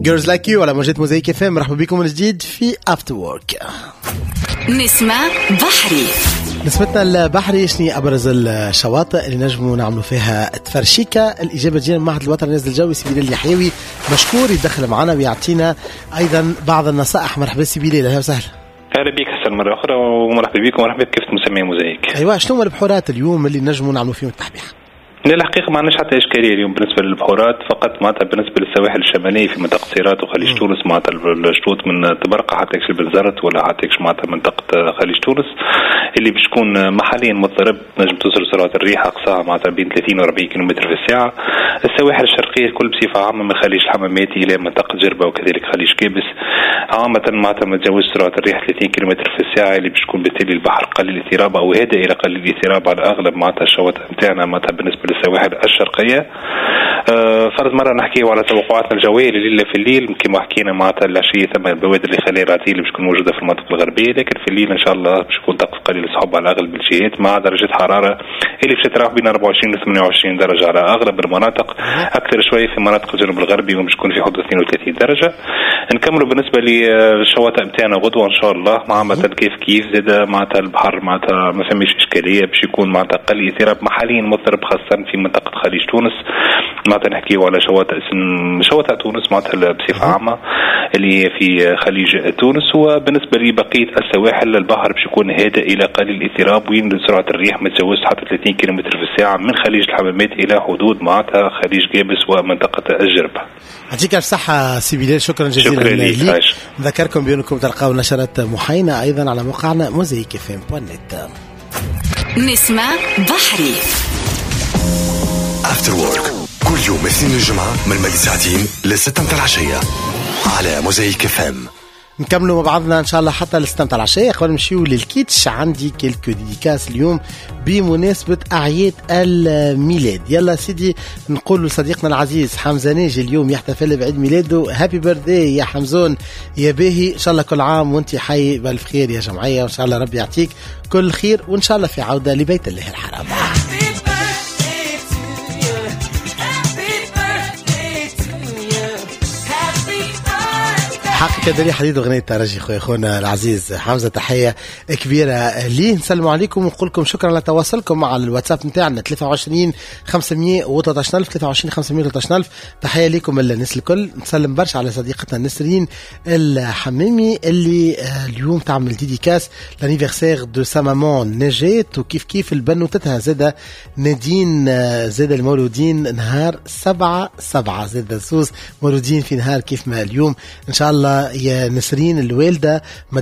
Girls Like You على موجات موزايك اف ام. مرحبا بكم من جديد في After Work. نسمة بحري. نسمتنا البحري، شنو ابرز الشواطئ اللي نجموا نعملوا فيها تفرشيكه؟ الاجابة تجينا من المعهد الوطني للرصد الجوي، سي بلال اليحيوي مشكور يدخل معنا ويعطينا ايضا بعض النصائح. مرحبا سي بلال، اهلا وسهلا. اهلا بك حسن مرة اخرى، ومرحبا بكم ومرحبا بكافة مستمعي موزايك. ايوا، شنو هما البحورات اليوم اللي نجموا نعملوا فيهم التحبيح؟ لا، الحقيقة ما عندناش حتى اشكالية اليوم بالنسبة للبحورات، فقط معناتها بالنسبة للسواحل الشمالية في منطقة سيرات وخليج تونس، معناتها الشطوط من طبرقه حتى يكش بنزرت ولا حتى يكش معناتها منطقة خليج تونس اللي باش تكون محليا مضطرب، نجم توصل سرعة الريح اقصاها معناتها بين 30 و 40 كم في الساعه. السواحل الشرقية الكل بصفة عامة من خليج الحمامات الى منطقة جربه وكذلك خليج قابس عامة معناتها ما تجاوزش سرعة الريح 30 كم في الساعه، اللي باش تكون بالتالي البحر قليل الاضطراب او هادئ الى قليل الاضطراب على اغلب معناتها الشواطئ نتاعنا معناتها بالنسبة للسواحل الشرقيه. فرد مرة نحكيو على توقعاتنا الجوية لليلة. في الليل كما حكينا معناتها العشية ثم البوادر الخلايا الرعديه اللي باش تكون موجودة في المناطق الغربيه، لكن في الليل ان شاء الله باش يكون طقس قليل السحب على اغلب الجهات، مع درجه حرارة اللي باش تتراوح بين 24 و 28 درجه على اغلب المناطق، اكثر شوية في مناطق الجنوب الغربي وباش تكون في حدود 32 درجه. نكملوا بالنسبة للشواطئ نتاعنا غدوه ان شاء الله عامة كيف كيف زاد معناتها البحر معناتها ما فماش اشكاليه، باش يكون معناتها قليل اضطراب، محليا مضطرب خاصة في منطقة خليج تونس. معناتها نحكيو على شواطئ تونس معناتها بصفة عامة اللي في خليج تونس. وبالنسبة لبقية السواحل البحر باش يكون هادئ الى قليل الاضطراب، وين سرعة الريح ما تجاوزش حتى 30 كم في الساعة من خليج الحمامات الى حدود معناتها خليج قابس ومنطقة الجربه. يعطيك الف صحة سي بلال، شكرا جزيلا. شكرا لك. نذكركم بأنكم تلقاو نشرات محاينة أيضا على موقعنا موزايك اف ام.net. نسمة بحري. After Work كل يوم اثنين الجمعة من مالي ساعتين ل6 متاع العشية على موزايك اف ام. نكملوا مع بعضنا ان شاء الله حتى ل6 متاع العشيه. قبل نمشيو للكيتش، عندي quelques dédicaces اليوم بمناسبة اعياد الميلاد. يلا سيدي، نقول لصديقنا العزيز حمزة ناجي، اليوم يحتفل بعيد ميلاده، happy birthday يا حمزون يا باهي، ان شاء الله كل عام وانت حي بالف خير يا جمعيه، وان شاء الله ربي يعطيك كل خير، وان شاء الله في عوده لبيت الله الحرام. Happy birthday to you. Happy birthday to you. Happy birthday. حقك دليل حديد اغنية ترجي خويا، خونا العزيز حمزه، تحية كبيرة ليه. نسلموا عليكم ونقول لكم شكرا على تواصلكم مع الواتساب نتاعنا 23 513 الف، 23 513 الف. تحية لكم الناس الكل. نسلم برشا على صديقتنا نسرين الحمامي اللي اليوم تعمل dédicace l'anniversaire de sa maman نجاة، وكيف كيف البنوتتها زادة نادين زادة المولودين نهار 7/7، زادة زوز مولودين في نهار كيف ما اليوم. ان شاء الله يا نسرين الوالدة.